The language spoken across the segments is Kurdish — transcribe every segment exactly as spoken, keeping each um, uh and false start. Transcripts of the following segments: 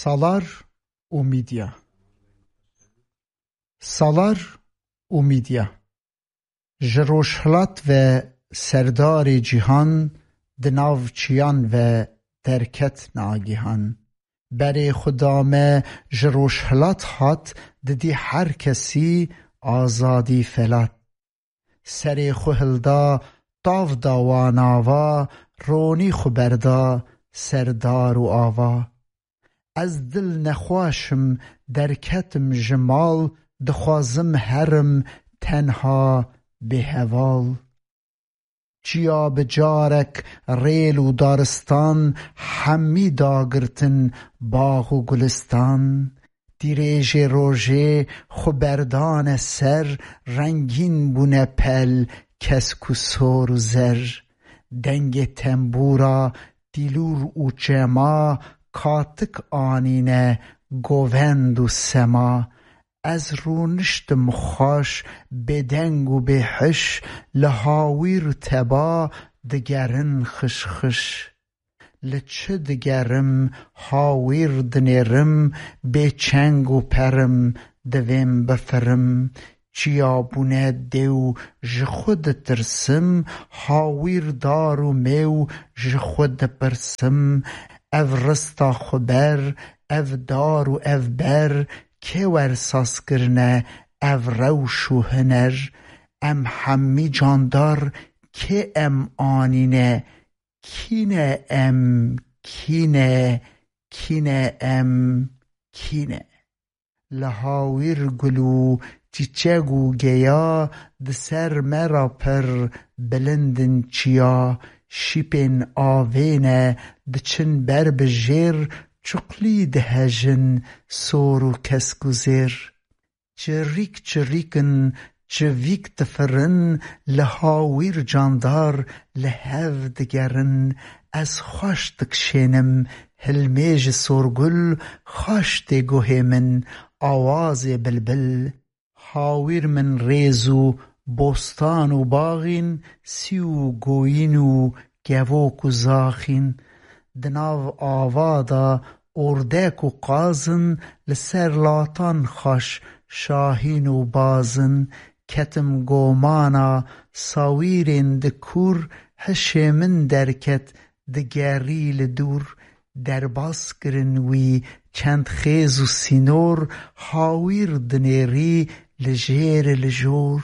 Salar û Mîdya. Salar û Mîdya. Ji rojhilat ve serdarê cîhan di nav çiyan ve derket nagihan. Berê xwe dame ji rojhilat hat, didî her kesî azadî felat. Serê xwe hilda, tav da wan ava, ronî xwe berda ser dar û ava. Ez dil nexweş im, derketim ji mal, dixwazim herim tenha bêheval. Çiya bi carek rêl û daristan, hemî dagirtin bax û gulistan. Tîrêjê rojê xwe berdane ser, rengîn bûne pel, kesk û sor û zer. Dengê tembûra, tîlûr û çema, katik anîne govend û sema. Ez rûniştim xweş, bêdeng û bêhiş, li hawîr teba digerin xişxiş. Li çi digerim, hawîr dinêrim, bêçeng û perim, divêm bifirim. Çiya bûne dêw, ji xwe ditirsim, hawîr dar û mêw, ji xwe dipirsim. Ev rista xwe ber, ev dar û ev ber, kê wer saz kirine ev rewş û huner? Em hemî candar, kê em anîne? Kî ne em, kî ne, kî ne em, kî ne? Li hawîr gul û çîçeg û geya, di ser me re pir bilind in çiya. Şîpên avê ne, diçin ber bi jêr, çuqlî dihejin sor û kesk û zêr. Çirîk çirîk in, çivîk difirin, li hawîr candar li hev digerin. Ez xweş dikşênim, hilmê ji sorgul xweş tê guhê min, awazê bilbil. Hawîr min rêz û bostan û baxîn, sî û goyîn û kevok û zaxîn. Di nav ava de ordek û qazin, li ser latan xweş şahîn û bazin. Ketim gomana sawîrên di kûr, hişê min derket digerî li dûr. Derbas kirin wî çend xêz û sînor, hawîr dinêrî li jêr li jor.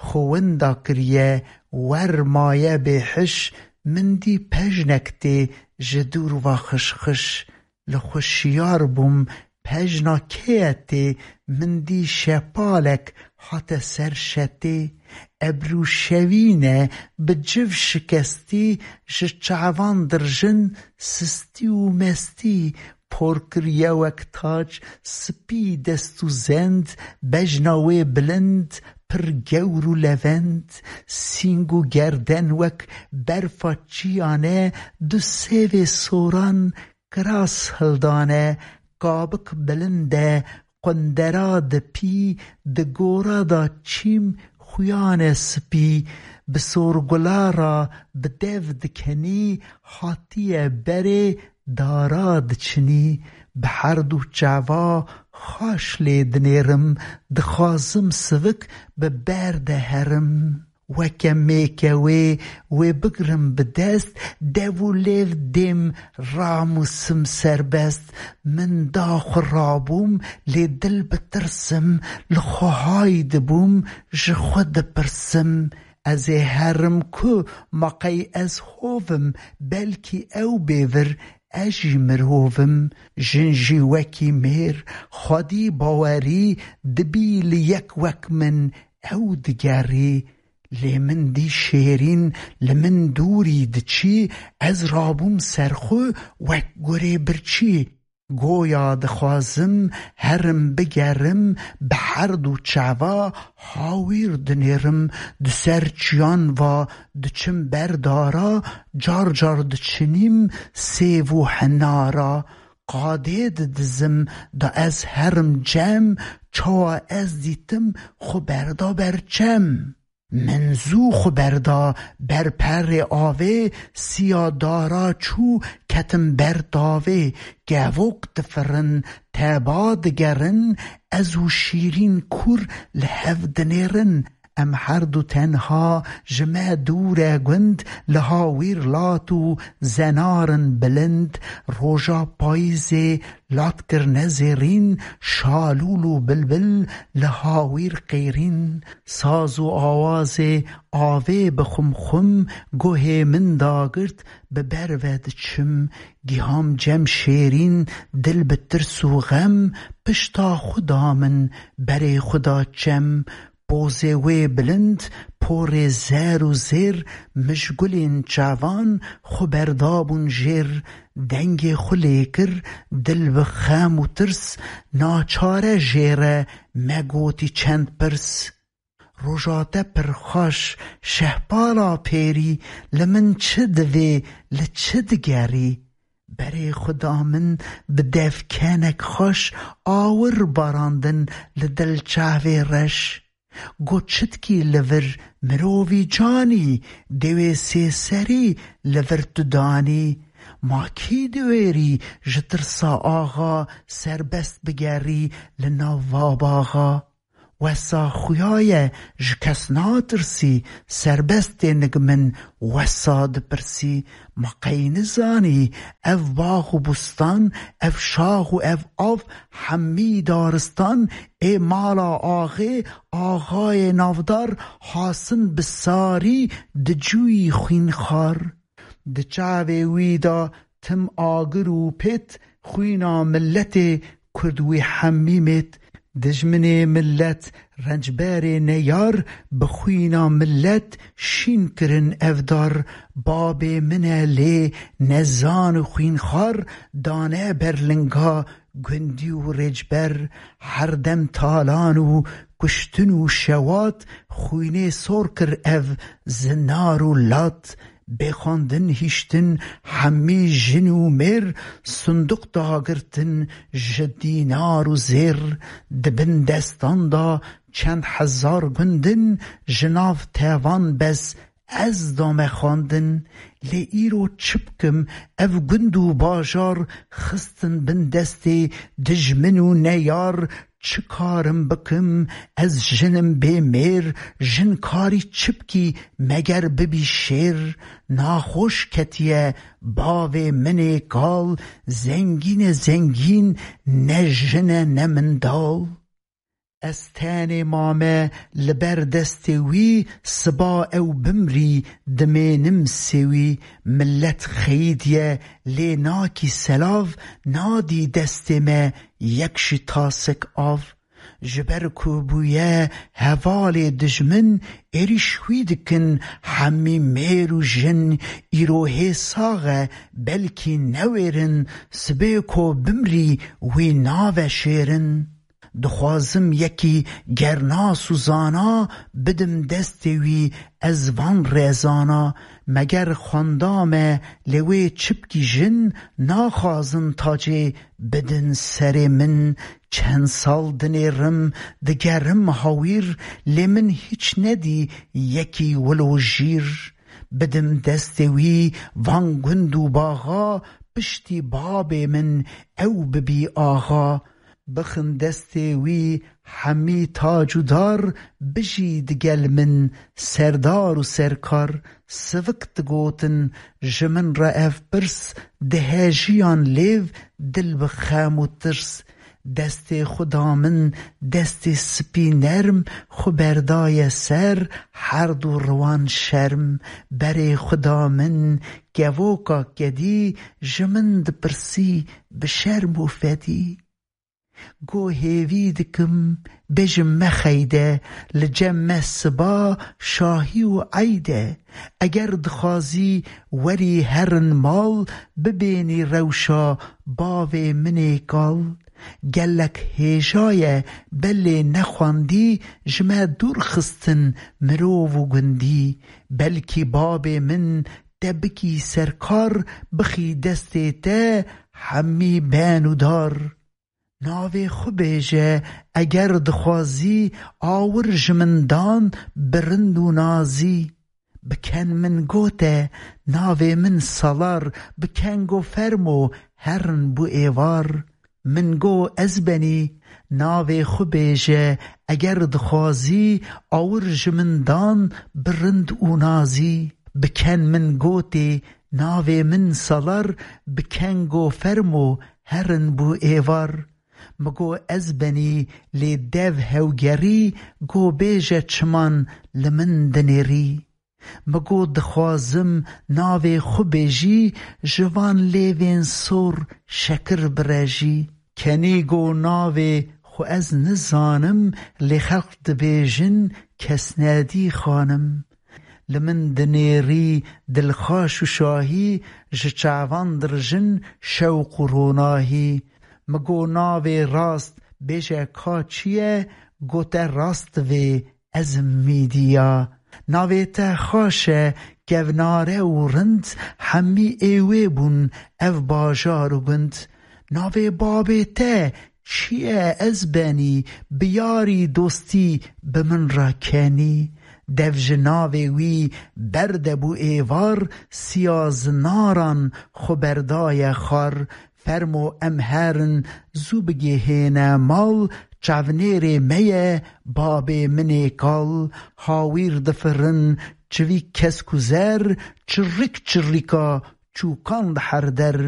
Xwe winda kiriye, wer maye bêhiş, min dî pejnek tê ji dûr va xişxiş. Li xwe şiyar bûm, pejna kê ye tê, min dî şepalek hate ser şetê. Ebr û şevîne bi civ şikestî, ji çavan dirjin sistî û mestî, por kiriye wek tac, spî dest û zend, bejna wê bilind, pir gewr û levend, sîng û gerden wek berfa çiyane, du sêvê soran, kiras hildane, kabik bilind e, qundera dipî, di gora da çîm xuyane spî, bi sorgula ra bi dev dikenî, hatiye berê dara diçinî. Bi herdu çava xaş lê dinêrim, dixwazim sivik bi ber de herim. Weke mêke wê, wê bigrim bi dest, dev û lêv dêm ramûsim serbest. Min da xwe rabûm, lê dil bi tirsim, li xwe hay dibûm, ji xwe dipirsim. Ez ê herim ku ma qey ez hov im, belkî ew bêvir, ez jî mirov im. Jin jî wekî mêr, xwedî bawerî dibî li yek wek min, ew digerî. Lê min dî şêrîn li min dûrî diçî, ez rabûm ser xwe wek gurê birçî. Goya dixwazim herim bigerim, bi herdu çava hawîr dinêrim, di ser çiyan va diçim ber dara, car car diçinîm sêv û hinara. Qadê didizim da ez herim cem, çawa ez dîtim xwe berda ber çem. Min zû xwe berda ber perê avê, siya dara çû ketim ber tavê. Kevok difirin, teba digerin, ez û Şîrîn kûr li hev dinêrin. Em herdu tenha ji me dûr e gund, li hawîr lat û zenar in bilind. Roja payîzê lat kirine zêrîn, şalûl û bilbil li hawîr qêrîn. Saz û awazê avê bi xumxum guhê min dagirt, bi ber ve diçim. Giham cem şêrîn, dil bi tirs û xem, pişta xwe da min, berê xwe da çem. Pozê wê bilind, porê zer û zêr, mij gulên çavan xwe berdabûn jêr. Dengê xwe lê kir, dil bi xem û tirs, naçare jê re me gotî çend pirs. Roja te pir xweş, şehpala pêrî, li min çi divê, li çi digerî? Berê xwe da min, bi devkenek xweş, awir barandin li dil çavê reş. Got çitkî li vir mirovî canî, dewê sêserî li vir tu danî. Ma kî diwêrî ji tirsa axa serbest bigerî li nav va baxa? Wesa xuya ye, ji kes natirsî, serbest tê nik min wesa dipirsî. Ma qey nizanî, ev bax û bustan, ev şax û ev av, hemî daristan, ê mala axê, axayê navdar, hasin bi sarî, dicûyî xwînxar. Di çavê wî de tim agir û pêt, xwîna miletê kurd wî hemî mêt. Dijminê milet, rencberê neyar, bi xwîna milet şîn kirin ev dar. Babê min e lê nezan û xwînxar, dane ber linga gundî û rêcber. Her dem talan û kuştin û şewat, xwînê sor kir ev zinar û lat. Bê xwendin hiştin hemî jin û mêr, sindiq dagirtin ji dînar û zêr. Di bin destan de çend hezar gundin, ji nav tevan bes ez dame xwendin. Lê îro çi bikim, ev gund û bajar xistin bin destê dijmin û neyar. Çi karim bikim, ez jinim bê mêr, jin karî çi bikî, meger bibî şêr. Naxweş ketiye bavê min ê kal, zengîn e zengîn, ne jin e ne mindal. Ez tenê mame li ber destê wî, siba ew bimrî, dimênim sê wî. Milet xeyîdiye, lê nakî selav, nadî destê me yek jî tasek av. Ji ber ku bûye hevalê dijmin, êrîş wî dikin hemî mêr û jin. Îro hê sax e, belkî newêrin, sibê ku bimrî wî nave şêrin. Dixwazim yekî gernas û zana, bidim destê wî, ez van rêzana. Meger xwenda me, lê wê çi bikî jin, naxwazin tacê bidin serê min. Çend sal dinêrim, digerim hawîr, lê min hiç nedî yekî wilo jîr. Bidim destê wî van gund û baxa, piştî babê min ew bibî axa. Bixin destê wî hemî tac û dar, bijî digel min serdar û serkar. Sivik digotin ji min re ev pirs, dihejiyan lêv dil bi xem û tirs. Destê xwe da min, destê spî nerm, xwe berdaye ser, herd û riwan şerm. Berê xwe da min, kevoka kedî, ji min dipirsî bi şerm û fedî. Go hêvî dikim, bêjim mexeyde, li cem me siba, şahî û eyde. Eger dixwazî werî herin mal, bibênî rewşa bavê min ê kal. Gelek hêja ye, belê nexwendî, ji me dûr xistin mirov û gundî. Belkî babê min te bikî serkar, bixî destê te hemî ben û dar. Navê xwe bêje, eger dixwazî, awir ji min dan bi rind û nazî. Biken min gote, navê min Salar, biken go fermo, herin bû êvar. Min go ez benî, navê xwe bêje, eger dixwazî, awir ji min dan bi rind û nazî. Biken min gotê, navê min Salar, biken go fermo, herin bû êvar. Mi go ez benî, lê dev hewgerî, go bêje çiman li min dinêrî. Mi go dixwazim navê xwe bêjî, ji van lêvên sor şekir birejî. Kenî go navê xwe ez nizanim, lê xelk dibêjin Kesnedî xanim. Li min dinêrî dilxaş û şahî, ji çavan dirijin şewq û ronahî. Mi go navê rast bêje ka çi ye, gote rast divê ez im Mîdiya. Navê te xaş e, kevnare û rind, hemî ê wê bûn ev bajar û gund. Navê babê te çi ye ez benî, bi yarî dostî bi min re kenî. Dev ji navê wî berde bû êvar, siya zinaran xwe berdaye xwar. Fermo em herin zû bigihêne mal, çavnêrê me ye babê min ê kal. Hawîr difirin çivîk kesk û zer, çirrik çirrika çûkan li her der.